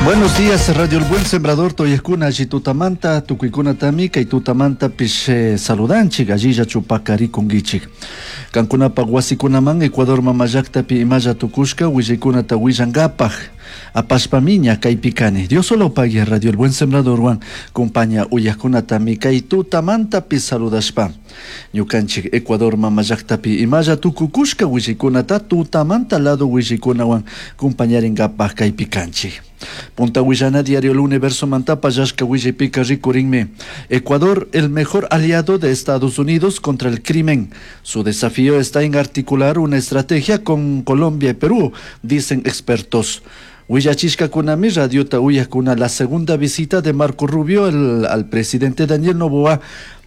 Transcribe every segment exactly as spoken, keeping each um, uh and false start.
Buenos días, Radio El Buen Sembrador, toyakuna, alli tutamanta, tukuikunatami, kay tutamantapish eh, saludanchik, allilla chupakarikunkichik. Kankunapak wasikunaman Ecuador mamallaktapi imalla tukushka willaykunata willankapaj apashpami ña kaypi kani. Dios solo pague Radio El Buen Sembradorwan compaña uyakunatami kay tutamantapi saludashpa. Ñukanchik Ecuador mamallaktapi imalla tukukushka willaykunata tutamanta lado willaykunawan compañarinkapaj kaypi kanchik. Punta Willana Diario El Universo mantapa yashka willaypika rikurinmi. Ecuador, el mejor aliado de Estados Unidos contra el crimen. Su desafío está en articular una estrategia con Colombia y Perú, dicen expertos. Willachishkakunami radiota uyakuna la segunda visita de Marco Rubio el, al presidente Daniel Noboa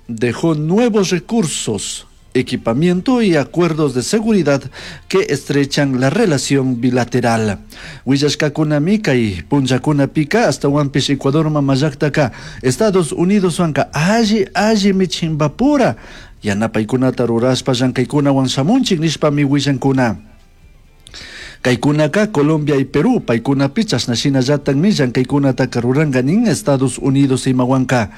dejó nuevos recursos, equipamiento y acuerdos de seguridad que estrechan la relación bilateral. Willashkakunami kay punllakunapika ashtawanpish Ecuador mamallaktaka Estados Unidos wanka alli allimi chimbapura yanapaykunata rurashpa llankaykunawan shamunchik nishpami willankuna. Kaykunaka Colombia y Perú paykunapi chashna shinallatakmi llankaykunataka ruranka nin Estados Unidos imawanka.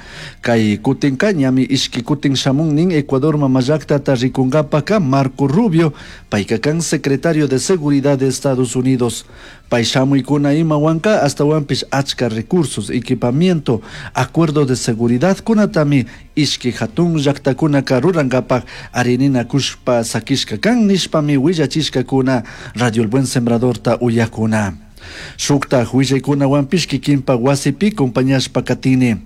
Kay kutinka ñami ishki kutin shamun nin Ecuador mamallaktata rikunkapaka Marco Rubio payka kan secretario de Seguridad de Estados Unidos. Pay shamuykuna imawanka ashtawanpish achka recursos, equipamiento, acuerdo de seguridad kunatami ishki hatun llaktakunaka rurankapak arininakushpa sakishka kan nishpami willachishkakuna Radio El Buen Sembradorta uyakuna. Shuktaj willaykunawanpish kikinpak wasipi compañashpa katini.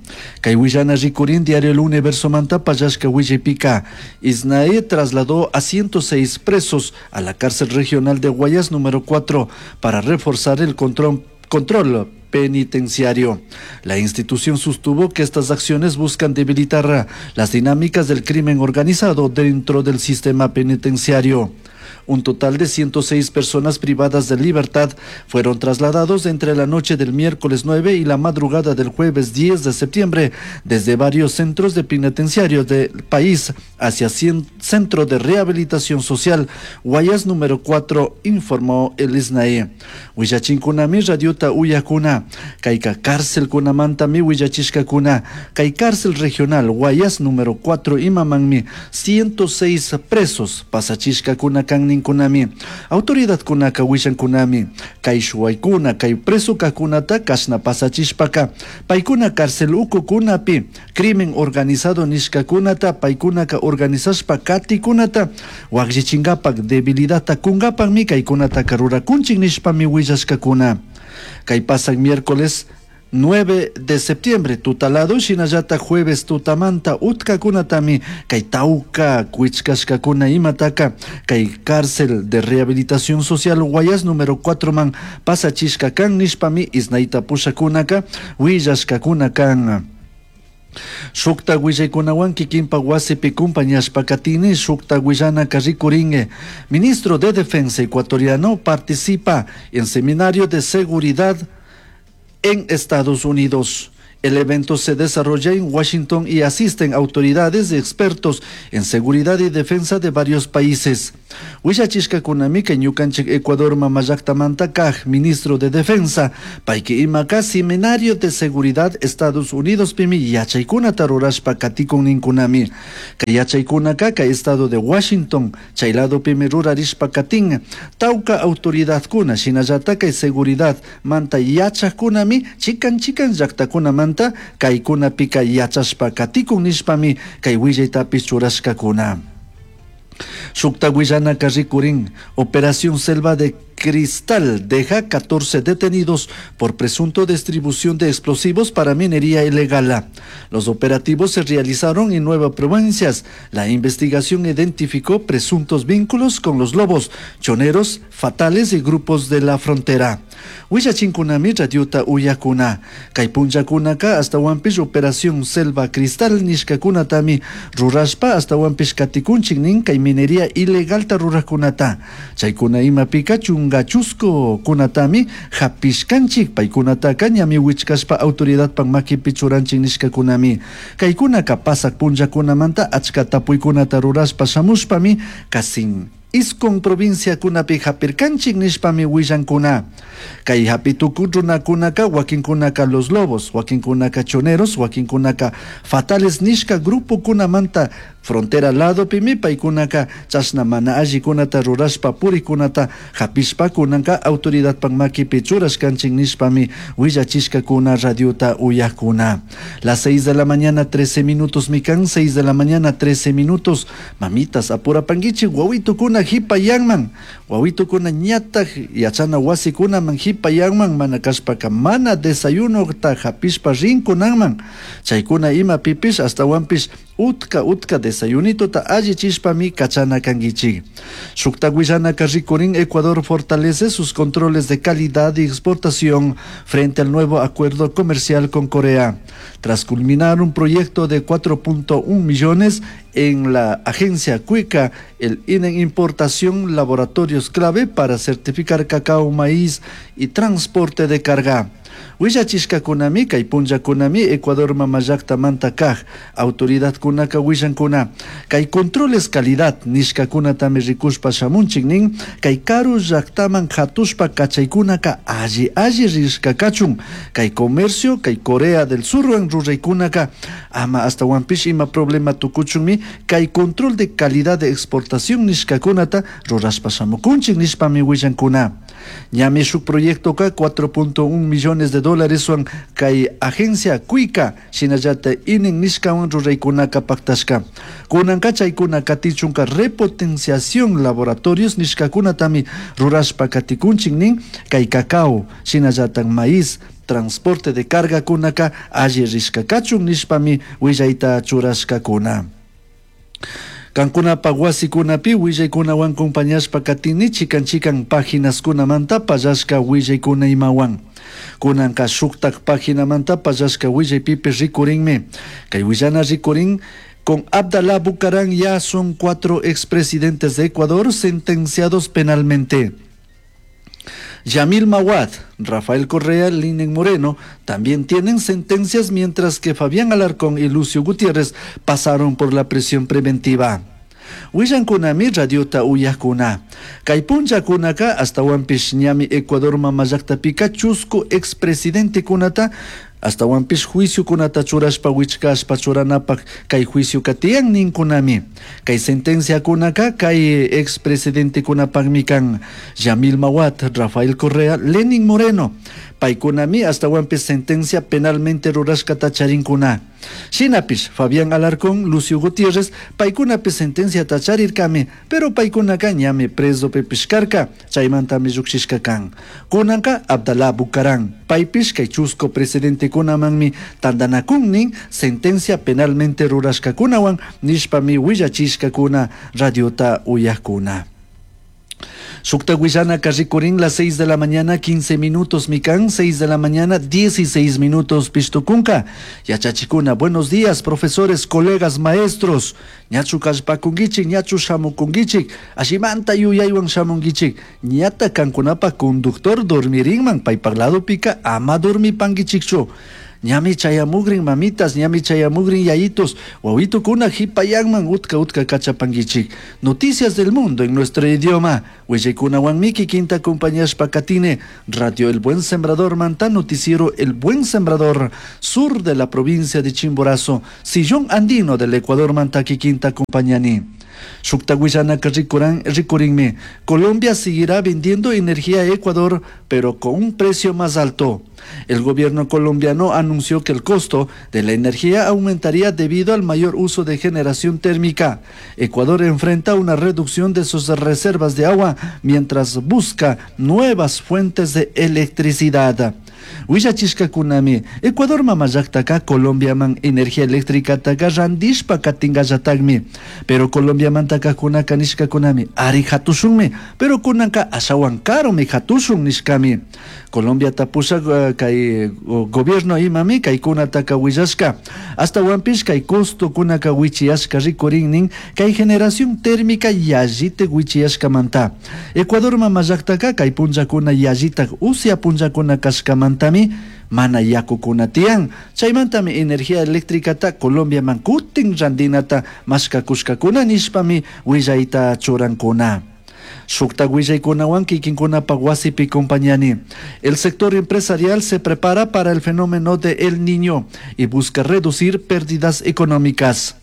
Kay willana rikurin Diario El Universo manta pallashka willaypika. ISNAE trasladó a ciento seis presos a la cárcel regional de Guayas número cuatro para reforzar el control, control penitenciario. La institución sostuvo que estas acciones buscan debilitar las dinámicas del crimen organizado dentro del sistema penitenciario. Un total de ciento seis personas privadas de libertad fueron trasladados entre la noche del miércoles nueve y la madrugada del jueves diez de septiembre desde varios centros de penitenciarios del país hacia cien, Centro de Rehabilitación Social Guayas número cuatro, informó el ISNAE. Willachinkunami radiota uyakuna, kayka cárcel kunamantami willachishkakuna, kay cárcel regional Guayas número cuatro imamanmi ciento seis presos pasachishkakuna kan kunami autoridad kunaka willankunami kay shuwaykuna kay preso kakunata kashna pasachishpaka paykuna cárcel ukukunapi crimen organizado nishkakunata paykunaka organizashpa katikunata wakllichinkapak debilidadta kunkapakmi kaykunataka rurakunchik nishpami willashkakuna. Kay pasak miércoles nueve de septiembre tutalado shinallata jueves tutamanta utkakunatami kay tauka kuichkashkakuna imataka kay cárcel de rehabilitación social Guayas número cuatro man pasachishka kan nishpami isnaita pushakunaka willashkakuna kan. Shukta willaykunawan kikinpa wasipi compañashpa katini shukta willanaka rikuringue. Ministro de Defensa ecuatoriano participa en seminario de seguridad en Estados Unidos. El evento se desarrolla en Washington y asisten autoridades y expertos en seguridad y defensa de varios países. Willachishkakunami kay ñukanchik Ecuador mamallaktamanta kaj ministro de Defensa, payki imaka seminario de seguridad Estados Unidos pimi yachaykunata rurashpa katikun ninkunami. Kay yachaykunaka kay estado de Washington, chay lado pimi rurarishpa katin, tawka autoridadkuna shinallata kay seguridad manta yachakkunami chikan chikan llaktakunamanta kaykunapika yachashpa katikun nishpami kay willaytapish churashkakuna. Shukta willanaka rikurin, Operación Selva de Cristal deja catorce detenidos por presunto distribución de explosivos para minería ilegal. Los operativos se realizaron en nueve provincias. La investigación identificó presuntos vínculos con los lobos, choneros, fatales y grupos de la frontera. Willachinkunami radiota uyakuna. Kay punllakunaka hasta wampish Operación Selva Cristal nishkakunatami rurashpa hasta wampish katikunchik nin kay minería ilegalta rurakunata. Chaykuna imapika chunga chusku kunatami hapishkanchik paykunataka ñami wichkashpa autoridadpak makipi churanchik nishkakunami. Kaykunaka pasak punllakunamanta achka tapuykunata rurashpa shamushpami kasin Isqun provinciakunapi hapirkanchik nishpami willankuna. Kay hapi tukuy runakunaka wakinkunaka Los Lobos, wakinkunaka Choneros, wakinkunaka Fatales nishka grupokunamanta frontera ladopimi paykunaka chashna mana allikunata rurashpa purikunata hapishpa kunanka autoridadpak makipi churashkanchik nishpami willachishkakuna radiota uyakuna. Las seis de la mañana trece minutos mikan, seis de la mañana trece minutos. Mamitas apurapanguichik wawitukuna hipayanman, wawitukuna ñataj yachana wasikunaman hipayanman, mana kashpaka mana desayunota hapishpa rinkunanman. Chaykuna imapipish astawanpish utka utka desayunitota allichishpami kachana kanguichik. Shukta willanaka rikurin Ecuador fortalece sus controles de calidad y exportación frente al nuevo acuerdo comercial con Corea. Tras culminar un proyecto de cuatro punto uno millones en la agencia Cuica, el I N E Importación laboratorios clave para certificar cacao, maíz y transporte de carga. Willachishkakunami kay punllakunami Ecuador mamallaktamanta kaj autoridadkunaka willankuna kay controles calidad nishkakunatami rikushpa shamunchik nin kay karu llaktaman hatushpa kachaykunaka alli alli rishkakachun kay comercio kay Corea del Surwan ruraykunaka ama astawanpish ima problema tukuchunmi kay control de calidad de exportación nishkakunata rurashpa shamukunchik nishpami willankuna. Ñami shuk proyectoka cuatro punto uno millones de dólares wan kay agencia Cuica shinallata inen nishkawan ruraykunaka paktashka. Kunanka chaykuna katichunka repotenciación laboratorios nishkakunatami rurashpa katikunchik nin kay cacao shinallata maíz transporte de carga kunaka alli rishkakachun nishpami willayta churashkakuna. Kankunapa wasikunapi willaykunawan compañashpa katini chikan chikan páginaskunamanta pallashka willaykuna imawan. Kunanka shuktak paginamanta pallashka willaypipi rikurinmi. Kay willana rikurin con Abdalá Bucaram ya son cuatro expresidentes de Ecuador sentenciados penalmente. Yamil Mahuad, Rafael Correa, Lenín Moreno también tienen sentencias, mientras que Fabián Alarcón y Lucio Gutiérrez pasaron por la prisión preventiva. Willankunami radiota uyakuna. Kay punllakunaka astawanpish ñami Ecuador mamallaktapica chusku expresidente kunata astawanpish juicio kunata churashpa wichkashpa churanapak kay juicio katiyan ninkunami. Kay sentencia kunaka kay expresidente kunapakmi kan Yamil Mahuad, Rafael Correa, Lenín Moreno. Paykunami astawanpish sentencia penalmente rurashkata charinkuna. Shinapish Fabián Alarcón, Lucio Gutiérrez, paykunapi sentencia tacharirkami, pero paykunaka ñami preso pepishkarka, chaymantami llukshishka kan. Kunanka Abdalá Bucaram, paypish kay chusco presidente kunamanmi tandanakunnin sentencia penalmente rurashkakunawan nishpami willachishkakuna radiota uyakuna. Shukta willanaka rikurin las seis de la mañana quince minutos mikan, seis de la mañana dieciséis minutos pishtukunka. Yachachikuna, buenos días, profesores, colegas, maestros. Ñachu kallpakunkichik, ñachu shamukunkichik, ashimanta yuyaywan shamunkichik. Ñata kankunapa conductor dormirinman, paypak ladopika ama dormipankichikchu. Ñami chayamugrin mamitas, ñami chayamugrin yayitos, wawitukuna hipayanman utka utka kachapangichik. Noticias del mundo en nuestro idioma. Huellecuna miki quinta compañías pacatine, Radio El Buen Sembrador, Manta Noticiero El Buen Sembrador, sur de la provincia de Chimborazo, Sillón Andino del Ecuador, Mantaqui quinta compañani. Shukta willanaka rikuran, rikurinmi. Colombia seguirá vendiendo energía a Ecuador, pero con un precio más alto. El gobierno colombiano anunció que el costo de la energía aumentaría debido al mayor uso de generación térmica. Ecuador enfrenta una reducción de sus reservas de agua mientras busca nuevas fuentes de electricidad. Willachishkakunami, Ecuador mamallaktaka Colombiaman energía eléctrica taka randishpa katingallatagmi, pero Colombiamantaka kunaka nishkakunami ari hatushunmi, pero kunanka ashawan karumi hatushun nishkami. Colombia tapushak, eh, kay, o, gobierno imami kay kunataka willashka, hasta wanpish kay costo kunaka wichiyashka rikurinnin kay generación térmica yallite wichiyashkamanta. Ecuador mamallaktaka kay punllakuna yallitak usia punllakuna kashkamantami mana yakukuna tiyan. Chaymantami energía eléctricata Colombiaman kutin randinata mashkakushkakuna nishpami willayta churankuna. Shuktak willaykunawan kikinkunapak wasipi compañani. El sector empresarial se prepara para el fenómeno de El Niño y busca reducir pérdidas económicas.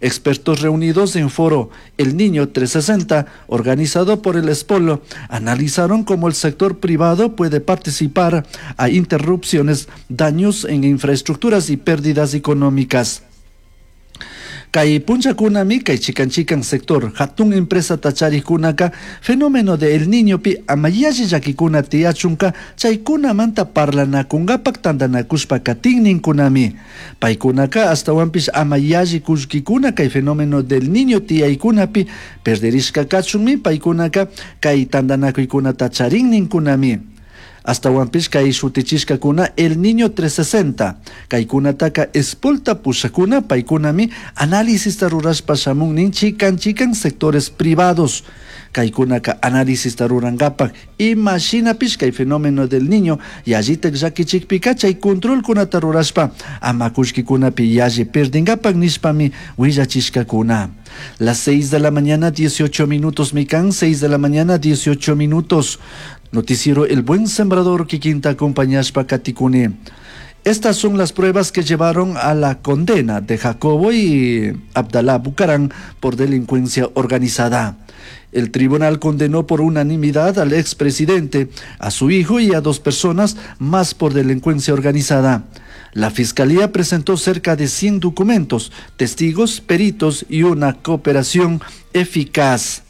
Expertos reunidos en foro El Niño trescientos sesenta, organizado por el Espolo, analizaron cómo el sector privado puede participar a interrupciones, daños en infraestructuras y pérdidas económicas. Kay punchakunami kay chikan chikan sector hatun empresa charikkunaka fenómeno de El Niño pi ama yalli llakikuna tiyachunka chaykunamanta parlanakunkapak tantanakushpa katinninkunami. Paykunaka ashtawanpish ama yalli kullkikuna kay fenómeno del Niño tiyaykunapi perderishka kachunmi paykunaka kay tantanakuykunata charinninkunami. Ashtawanpish kay shutichishkakuna El Niño trescientos sesenta, kaykunataka espolta pushakuna paykunami análisis rurashpa shamunnin chikan chikan sectores privados. Kaykunaka análisis rurankapak ima shinapish kay fenómeno del Niño yallitak llakichikpika chay controlkunata rurashpa ama kullkikunapi yalli perdinkapak nishpami willachishkakuna. Las seis de la mañana dieciocho minutos, mikan, seis de la mañana dieciocho minutos. Noticiero El Buen Sembrador kikinta acompañashpa katikuni. Estas son las pruebas que llevaron a la condena de Jacobo y Abdalá Bucaram por delincuencia organizada. El tribunal condenó por unanimidad al expresidente, a su hijo y a dos personas más por delincuencia organizada. La fiscalía presentó cerca de cien documentos, testigos, peritos y una cooperación eficaz.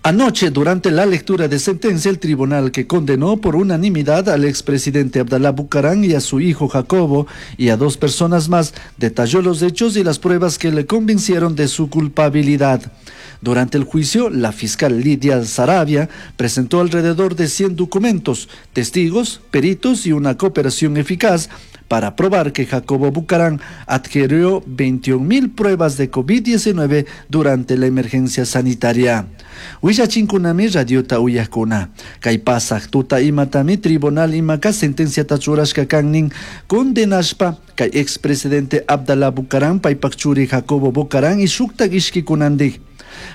Anoche, durante la lectura de sentencia, el tribunal que condenó por unanimidad al expresidente Abdalá Bucaram y a su hijo Jacobo y a dos personas más, detalló los hechos y las pruebas que le convencieron de su culpabilidad. Durante el juicio, la fiscal Lidia Saravia presentó alrededor de cien documentos, testigos, peritos y una cooperación eficaz para probar que Jacobo Bucaram adquirió veintiún mil pruebas de COVID diecinueve durante la emergencia sanitaria. Willachinkunami radiota uyakuna. Kay pasaj tuta imatami tribunal imaka sentencia tachurashka kannin condenashpa kay expresidente Abdalá Bucaram paypak churi Jacobo Bucaram y shuktak ishkikunandik.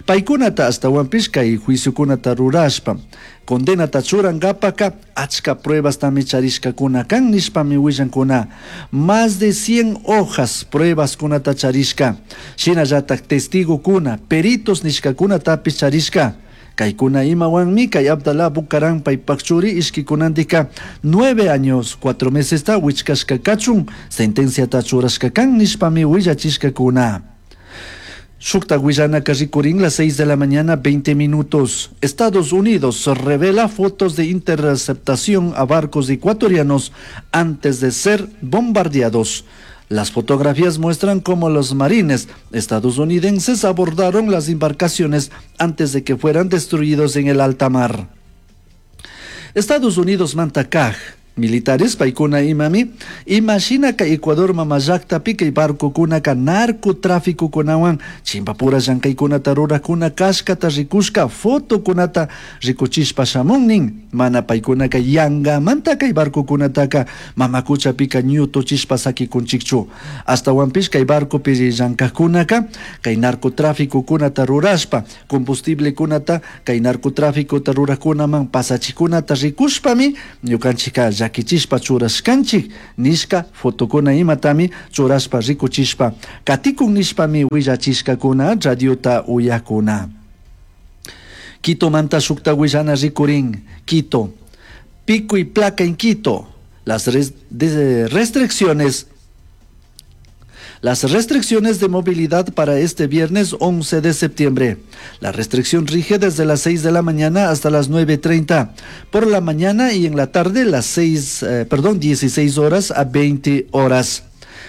Paykunata ashtawanpish kay juiciokunata rurashpa condenata churankapaka achka pruebas tami charishkakuna kan nishpami willankuna. Más de cien hojas pruebas kunata charishka, shinallatak testigokuna, peritos nishkakunatapish charishka. Kaykuna imawanmi kay Abdalá Bucaram paypak churi ishkikunandika nueve años cuatro meses ta wichkashka kachun sentenciata churashka kan nishpami willachishkakuna. Shukta willanaka rikurin las seis de la mañana veinte minutos. Estados Unidos revela fotos de interceptación a barcos ecuatorianos antes de ser bombardeados. Las fotografías muestran cómo los marines estadounidenses abordaron las embarcaciones antes de que fueran destruidos en el alta mar. Estados Unidos mantakaj. Militares paykuna imami imashina ka Ecuador mamallaktapi kay barcokuna ka narcotráfico kunawan chimpapura llankaykunata rurakuna kashkata rikushka fotokunata rikuchishpa shamunnin mana paykunaka yangamanta kay barcokunataka mamakuchapika ñutuchishpa sakikunchikchu astawanpish kay barcopi llankajkunaka kay narcotráfico kunata rurashpa combustible kunata kay narcotráficota rurakunaman pasachikunata rikushpami ñukanchika llakichishpa churashkanchik nishka fotokuna imatami churashpa rikuchishpa katikun nishpami willachishkakuna radiota uyakuna. Quito manta shukta willana rikurin. Quito, pico y placa en Quito. Las res-, de restricciones Las restricciones de movilidad para este viernes once de septiembre. La restricción rige desde las seis de la mañana hasta las nueve treinta por la mañana y en la tarde las seis, eh, perdón, dieciséis horas a veinte horas.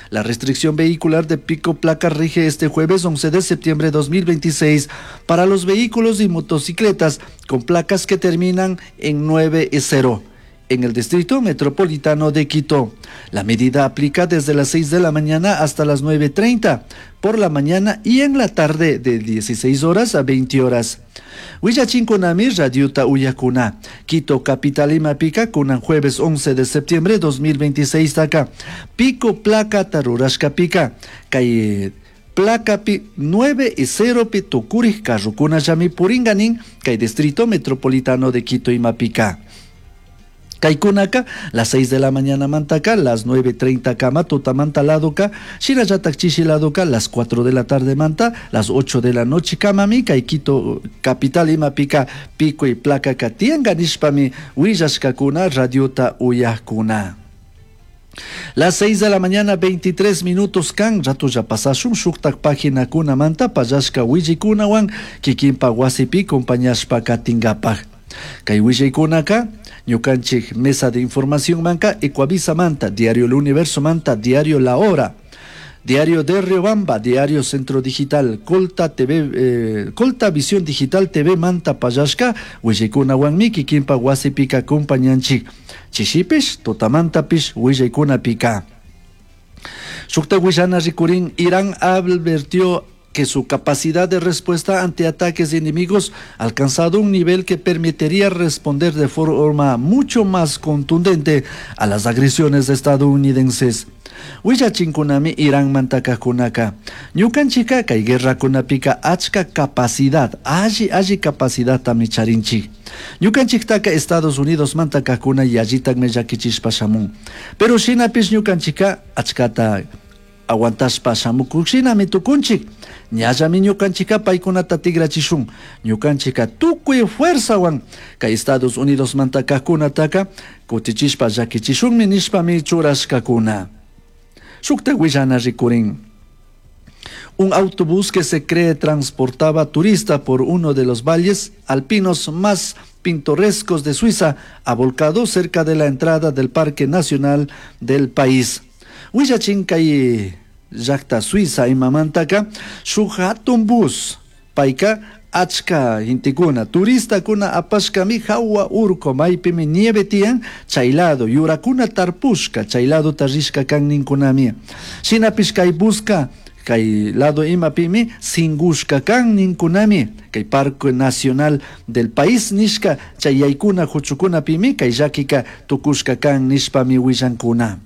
La restricción vehicular de pico placa rige este jueves once de septiembre de dos mil veintiséis para los vehículos y motocicletas con placas que terminan en nueve y cero. En el Distrito Metropolitano de Quito. La medida aplica desde las seis de la mañana hasta las nueve treinta por la mañana y en la tarde de dieciséis horas a veinte horas. Willachinkunami Radiota Uyakuna. Quito capital imapika kunan jueves once de septiembre de dos mil veintiséis taka. Pico placa tarurashka pica. Kay Placapi nueve y cero pi tukurij carrokunallami puringa nin kay Distrito Metropolitano de Quito imapika. Kaykunaka las seis de la mañana mantaka las nueve treinta kama tutamanta ladoka, shinallatak chishi ladoka las cuatro de la tarde manta las ocho de la noche kamami kay Quito capital imapika pico y placa tiyanka nishpami willashkakuna radiota uyajkuna. Las seis de la mañana, veintitrés minutos kan, rato ya pasashun shuktak paginakuna manta pallashka willaykunawan kikinpa wasipi compañashpa katinkapak. Kay willaykunaka ñukanchik mesa de información manka Ecuavisa manta, Diario El Universo manta, Diario La Hora, Diario de Riobamba, Diario Centro Digital, Colta T V, eh, Colta Visión Digital T V manta pallashka willaykunawanmi kikinpa wasipika acompañanchik. Chishipish, tutamantapish willaykunapika. Shukta willana rikurin. Irán advirtió que su capacidad de respuesta ante ataques de enemigos ha alcanzado un nivel que permitiría responder de forma mucho más contundente a las agresiones estadounidenses. Willachinkunami Irán mantakakunaka. Ñukanchika kay guerrakunapika achka capacidad, alli alli capacidadtami charinchik. Ñukanchiktaka Estados Unidos mantakakuna yallitakmi llakichishpa shamun. Pero shinapish ñukanchika achkata aguantashpa shamukukshinami tukunchik. Ñallami ñukanchika paykunata tigrachishun. Ñukanchika tukuy fuerzawan kay Estados Unidos mantakajkunataka kutichishpa llakichishunmi nishpami churashkakuna. Shukta willana rikurin. Un autobús que se cree transportaba turista por uno de los valles alpinos más pintorescos de Suiza ha volcado cerca de la entrada del Parque Nacional del país. Willachin kay llakta Suiza imamantaka shuk hatun bus payka achka gentekuna turistakuna apashkami hawa urku maypimi nieve tiyan chay lado yurakuna tarpushka chay ladota rishka kan ninkunami. Shinapish kay buska kay lado imapimi singushka kan ninkunami. Kay Parque Nacional del país nishka chay yaykuna huchukunapimi kay llakika tukushka kan nishpami willankuna.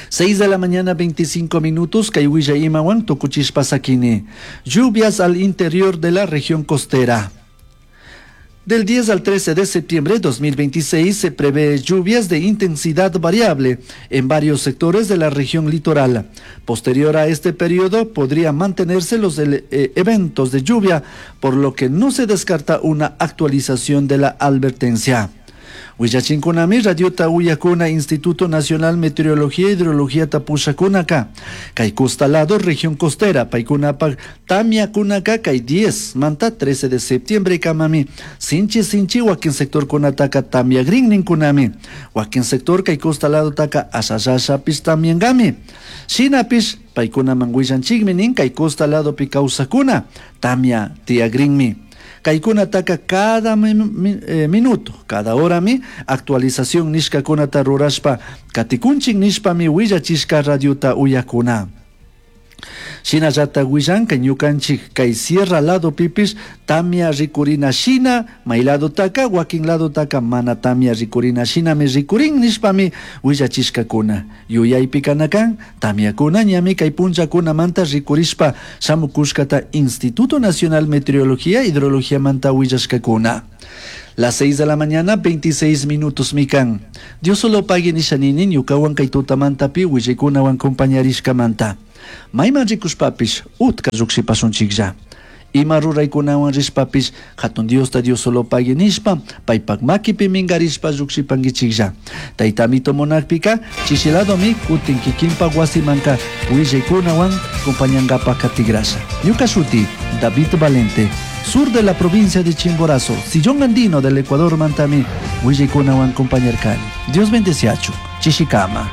seis de la mañana, veinticinco minutos, kay willaykunawan tukuchishpa sakini. Lluvias al interior de la región costera. Del diez al trece de septiembre de dos mil veintiséis se prevé lluvias de intensidad variable en varios sectores de la región litoral. Posterior a este periodo podría mantenerse los eh, eventos de lluvia, por lo que no se descarta una actualización de la advertencia. Willachinkunami radiota uyakuna Instituto Nacional Meteorología e Hidrología tapushakunaka. Kay costa lado región costera paykunapak tamyakunaka kay diez manta trece de septiembre kamami. Sinchi sinchi wakin sector kunataka tamyagrin ninkunami. Wakin sector kay costa lado taka ashashashapish tamyangami. Shinapish paykunaman willanchikmi nin kay costa lado pi kawsakuna tamya tiyagrinmi. Kaykunataka cada mi, mi, eh, minuto, cada horami actualización nishkakunata rurashpa katikunchik nishpami willachishka radiota uyakuna. Shinallata willanka ñukanchik kay sierra lado pipish tamia rikurina shina may lado taka wakin lado taka mana tamia rikurina shinami rikurin nishpami willachishkakuna. Yuyaypi kanakan tamiakuna ñami kay punllakunamanta rikurishpa shamukushkata Instituto Nacional Meteorología Hidrología manta willashkakuna. Las seis de la mañana, veintiséis minutos mikan. Dios solo pague nishanini ñukawan kay tutamantapi willaykunawan compañarishkamanta. Mayman rikushpapish utka llukshipashunchiklla. Ima ruraykunawan rishpapish hatun Diosta Dios solo pague nishpa paypak makipi minkarishpa llukshipankichiklla. Tayta Amito munakpika chishiladomi kutin kikinpa wasimanka willaykunawan compañankapak katigrasha. Ñuka shuti David Valente, sur de la provincia de Chimborazo, sillón andino del Ecuador mantami willaykunawan compañarkani. Dios bendeciachu. Chishikama.